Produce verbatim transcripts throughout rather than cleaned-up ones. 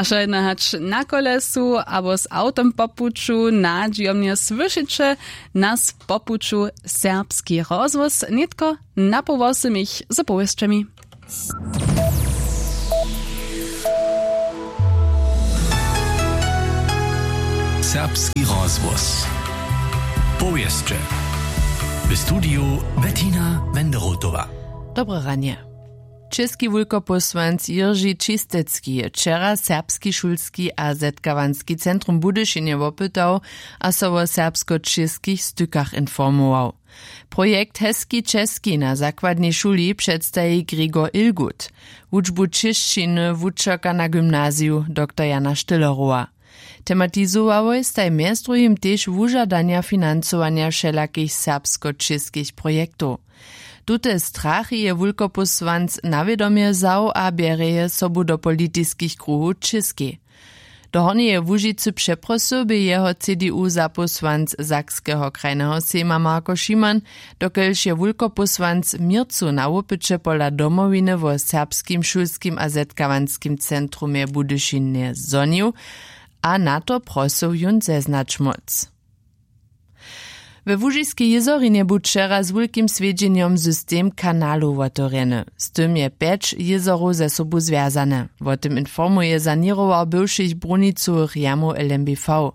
A wšo jedno hač na kolesu abo z awtom po puću nadźijomnje słyšeće nas po puću. Serbski rozhłos nětko na poł wosomich z powěsćemi. Serbski rozhłos. Powěsće. W studiju Bettina Wenderotowa. Dobre ranje. Česki wulkopósłanc Jiržej Čistecki je wčera Serbski šulski a zetkawanski centrum w Budyšinje wopytał a so wo serbsko-čěskich stykach informował. Projekt Heski Česki na zakładnej šuli předstaji Gregor Ilgut. Wučbu čěšćiny wučerka na gymnaziju doktor Jana Stillerowa. Tematizowałoj staj mjez druhim tež wužadanja financowanja wšelakich serbsko-čěskich projektow. Tute strachy je wulkopósłanc na wědomje wzał a bjerje je sobu do politiskich kruhow w Čěskej. Do Hornjeje Łužicy přeprosył bě jeho C D U zapósłanc Sakskeho krajneho sejma Marko Šiman, dokelž je wulkopósłanc měrcu na wopyće pola Domowiny wo serbskim šulskim a zetkawanskim centrumje w Budyšinje zhonił a na to prosył jón zeznać móc. We Łužiskej jězorinje bu wčera z wulkim swjedźenjom system kanalow wotewrjeny. Z tym je pjeć jězorow ze sobu zwjazane. Wo tym informuje saněrowar bywšich brunicowych jamow L M B V.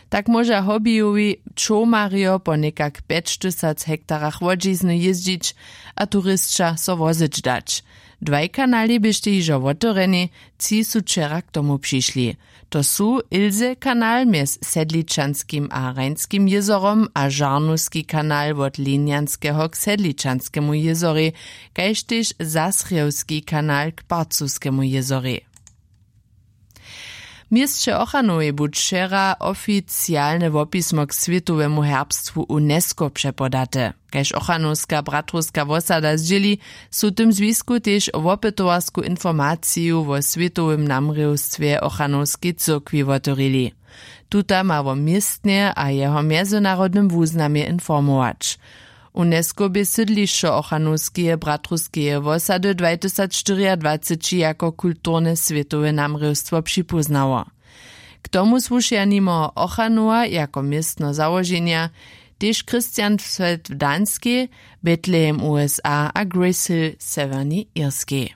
Tak móža hobbyjowi čołmarjo po někak pjećtysac hektarach łodźizny jězdźić a turisća so wozyć dać. Dwaj kanali běštej hižo wotewrjeni, tři su wčera k tomu přišli. To su Ilse kanal mjez Sedličanskim a Rajnskim jězorom a Žarnowski kanal wot Linjanskeho k Sedličanskemu jězorej, kaž tež Zasrjewski kanal k Parcowskemu jězorej. W měsće Ochranowej bu wčera oficialne wopismo k swětowemu herbstwu UNESCO přepodate. Kaž ochranowska bratrowska wosada zdźěli, su w tym zwisku tež wopytowarsku informaciju wo swětowym namrěwstwje ochranowskej cyrkwi wotewrili. Tuta ma wo městnje a jeho mjezynarodnym wuznamje informować. UNESCO bě sydlišćo ochranowskeje bratrowskeje wosady dwajtysacštyriadwaceći jako kulturne swětowe namrěwstwo připóznało. K tomu słušeja nimo Ochanowa jako městno załoženja tež Christiansfeld w Danskej, Betlehem USA a Grace Hill w Sewjernej Irskej.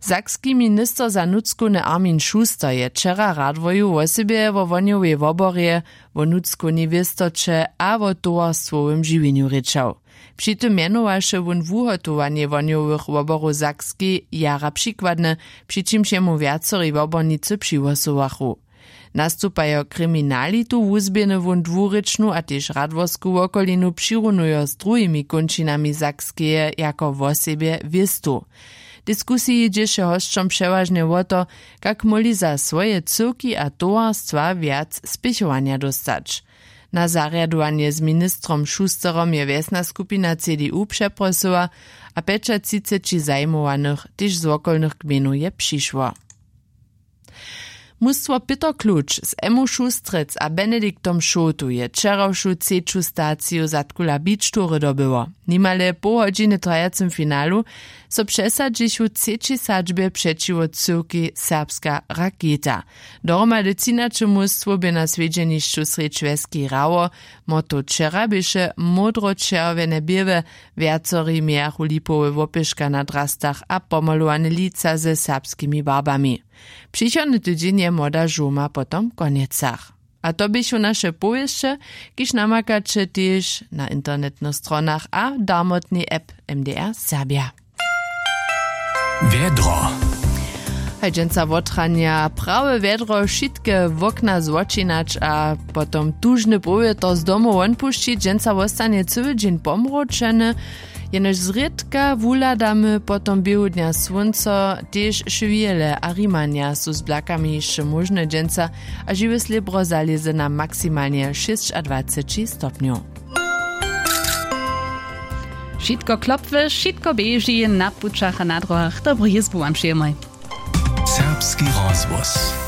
Sakski minister za nutřkowne Armin Schuster je wčera radworju wosebje wo wohnjowej woborje, wo nutřkownej wěstoće a wo towarstwowym žiwjenju rěčał. Při tym mjenowaše wón wuhotowanje wohnjowych woborow w Sakskej jara přikładne, při čimž jemu wjacori wobornicy přihłosowachu. Nastupajo kriminalitu wuzběhny wón dwurěčnu a tež radworsku wokolinu přirunujo z druhimi kónčinami Sakskeje jako wosebje wěstu. W diskusiji dźěše hosćom přewažnje wo to, kak móhli za swoje cyłki a towarstwa wjac spěchowanja dóstać. Na zarjadowanje z ministrom Schusterom je wjesna skupina C D U přeprosyła a pjećatřiceći zajimowanych tež z wokolnych gmejnow je přišło. Mustwo Pětr Kluč z Emmu Šustrec a Benediktom Šołtu je wčerawšu třeću staciju Zadkula Beach Toury dobyło. Nimale poł hodźiny w trajacym finalu so přesadźichu w třećej sadźbje přećiwo cyłkej Serbska Raketa. Dohromady třinaće mustwow bě na swjedźenišću srjedź wjeskej hrało. Motto wčera běše módro-čerwjene běłe, wjacori mějachu lipowe łopěška na drastach a pomalowane lica ze serbskimi barbami. Přichodny tydźeń je młoda žołma potom w Konjecach. A to běchu naše powěsće, kiž namakaće tež na internetnych stronach a w darmotnej app M D R Serbja. Wjedro. Haj dźensa wotranja prawe wjedro, wšitke wokna zwočinać a potom tužny powětr z domu won pušćić. Dźensa wostanje cyły dźeń pomročeny. Jenož zrědka wuhladamy potom běhu dnja słónco, tež šwěle a rimanja su z blakami hišće móžne dźensa a žiwy slěbro zalěze na maksimalnje šěsćadwaceći stopnjow. Wšitko klopły, wšitko běži na pućach a na dróhach. Dobru jězbu wam přejemoj. Serbski rozhłos.